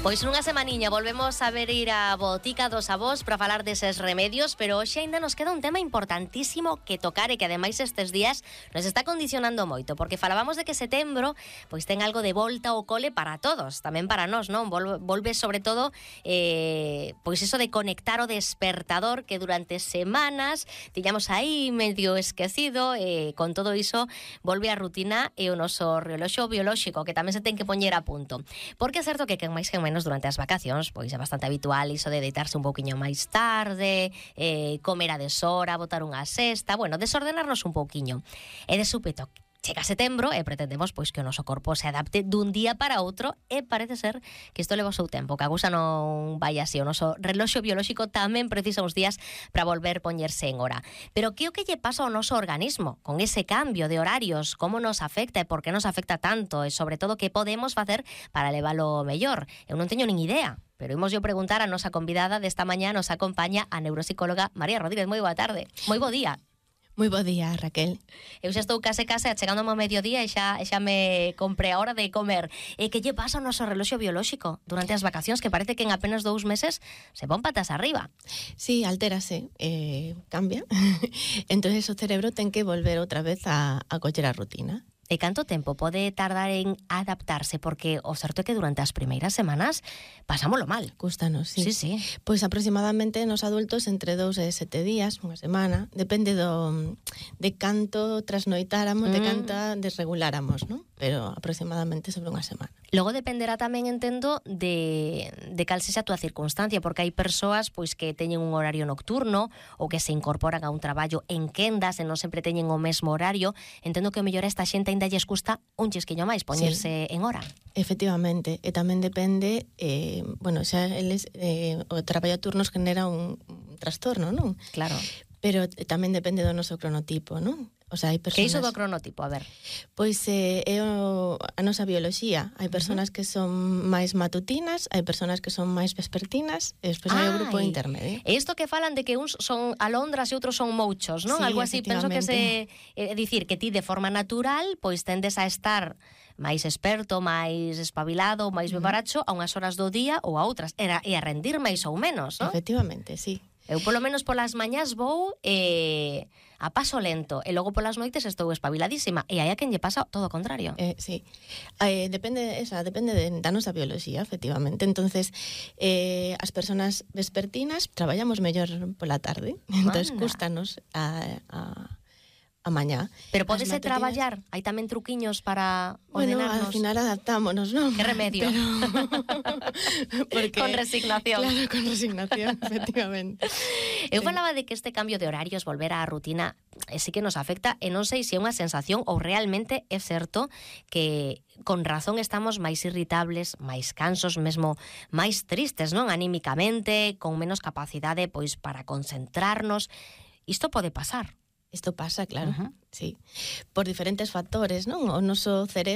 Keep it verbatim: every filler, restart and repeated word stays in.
Pois nunha semaniña volvemos a ver ir a botica dos avós para falar deses remedios, pero hoxe ainda nos queda un tema importantísimo que tocar e que ademais estes días nos está condicionando moito, porque falábamos de que setembro pois ten algo de volta ao cole para todos, tamén para nós, non? Volve, volve sobre todo eh, pois eso de conectar o despertador que durante semanas tiñamos aí medio esquecido, e con todo iso volve a rutina e o noso reloxo biolóxico que tamén se ten que poñer a punto. Porque é certo que quen máis que menos durante as vacacións, pois é bastante habitual iso de deitarse un pouquiño máis tarde, eh, comer a deshora, botar unha sesta, bueno, desordenarnos un pouquiño. E de súpeto chega setembro e pretendemos pois que o noso corpo se adapte dun día para outro, e parece ser que isto leva o seu tempo, que a cousa non vai así. O noso reloxo biolóxico tamén precisa uns días para volver poñerse en hora. Pero que o que lle pasa ao noso organismo con ese cambio de horarios? Como nos afecta e por que nos afecta tanto? E sobre todo, que podemos facer para leválo mellor? Eu non teño nin idea, pero imos yo preguntar a nosa convidada desta mañá. Nos acompaña a neuropsicóloga María Rodríguez. Moi boa tarde. Moi bo día. Moi bo día, Raquel. Eu xa estou case case achegando ao mediodía e xa, xa me compré a hora de comer. E que lle pasa ao noso reloxo biolóxico durante as vacacións, que parece que en apenas dous meses se pon patas arriba? Sí, altérase, eh, cambia. Entonces o cerebro ten que volver outra vez a, a coller a rutina. E canto tempo pode tardar en adaptarse? Porque o certo é que durante as primeiras semanas pasámolo mal. Cústanos, sí. Sí, sí. Pois aproximadamente nos adultos entre dous e sete días, unha semana, depende do de canto trasnoitáramos, mm. de canta desreguláramos, non? Pero aproximadamente sobre unha semana. Logo dependerá tamén, entendo, de, de cal sexa a túa circunstancia, porque hai persoas pois que teñen un horario nocturno ou que se incorporan a un traballo en quendas e non sempre teñen o mesmo horario. Entendo que o mellor a esta xente ainda lles custa un chisquiño máis poñerse sí. en hora. Efectivamente, e tamén depende, eh, bueno, xa eles, eh, o traballo a turnos genera un, un trastorno, non? Claro. Pero tamén depende do noso cronotipo, non? O sea, hai personas... Que iso do cronotipo, a ver? Pois eh, é o, a nosa bioloxía. Hai persoas uh-huh. que son máis matutinas, hai persoas que son máis vespertinas, e despois hai o grupo intermedio. E isto que falan de que uns son alondras e outros son mouchos, non? Sí, algo así, penso que se... É dicir, que ti de forma natural pois tendes a estar máis experto, máis espabilado, máis bebaracho a unhas horas do día ou a outras. Era, e a rendir máis ou menos, non? Efectivamente, sí. Eu polo menos polas mañás vou eh, a paso lento, e logo polas noites estou espabiladísima, e hai a quen lle pasa todo o contrario. Eh, sí, eh, depende esa, depende de, da nosa bioloxía, efectivamente. Entonces, eh, as persoas vespertinas traballamos mellor pola tarde, entonces cústanos a, a a mañá. Pero podese traballar? Hai tamén truquiños para bueno, ordenarnos? Bueno, al final adaptámonos, non? Que remedio? Pero... Porque... Con resignación. Claro, con resignación, efectivamente. Eu sí. falaba de que este cambio de horarios, volver á rutina, eh, sí que nos afecta, e non sei se é unha sensación ou realmente é certo que con razón estamos máis irritables, máis cansos, mesmo máis tristes, non? Anímicamente, con menos capacidade pois para concentrarnos. Isto pode pasar. Isto pasa, claro, uh-huh. sí. Por diferentes factores, non? O noso cerebro